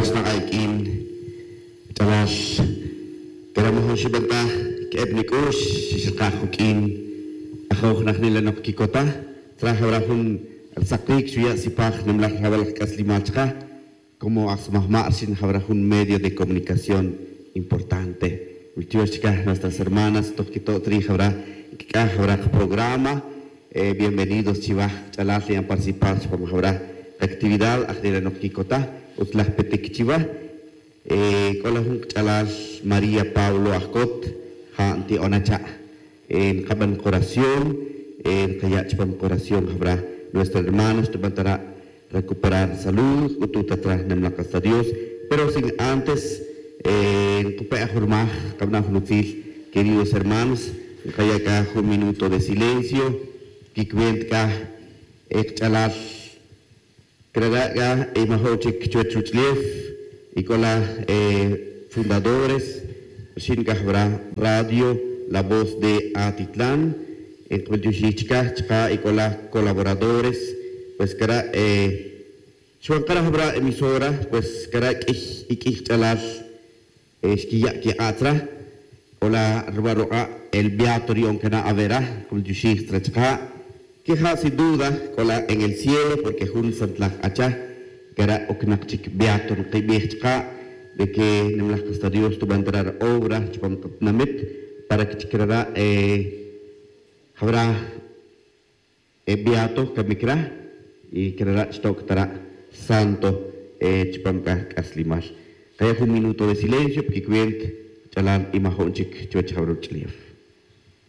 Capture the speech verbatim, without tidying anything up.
Xnak'a' iq'uin ch'alal, cara' majun xiban ta que'eb nic'ux chi xrkaj juq'uin ajoj najnila' nok quicota. Tzra jawra jun rsaqic xuya' sipaj nimlaj jawal laj c'aslimal chka. Como aj smajma' rxin jawra jun medio de comunicación importante. Wiltiox chka nuestras hermanas toj quito' tri jawra quic'aj jawra kaprograma. Bienvenidos chiwaj ch'alal nian participar chupam jawra kactividad ajnila' nok quicota. Utz laj petic chiwa. C'o la jun kach'alal maría pablo ajcot. Ja' nti'ona cha'. Nkaban koración. Nkaya' chupam koración jawra nuestra hermana xtuban tara' recuperar salud c'utu' ta tra nemlak hasta dios. Pero sin antes nkupe' ajurmaj kabana' jun utzil. Queridos hermanos, nkaya' c'a jun minuto de silencio. Quicuenta c'a kach'alal. Crara' c'a imajo' chic chuwech ruch'ulef. Y c'o la fundadores rxin c'a jawra radio la voz de atitlan. Nkbil tioxij chicaj chaka' y c'o la colaboradores. Pues cara' xwan kara' jawra emisora. Pues cara' q'uiy y q'uiy kach'alal xquiya' quik'atz ra. C'o la ruba' ruk'a' el beato ri'on cana' avera. Cul tioxij tzra chaka'. Quija' sin duda c'o la en el cielo porque jun santlaj k'acha. Cara' ocnak chic beato nkibij chaka'. De que nimlaj kasta dios tuban tara' ra obra chupam katinamit para que chic rara' jawra beato camic ra. Y crara' chtoc tara' santo chupam c'a c'aslimal. Kaya' jun minuto de silencio pa quicuenta ch'alal imajo'n chic chuwech jawra ruch'ulef.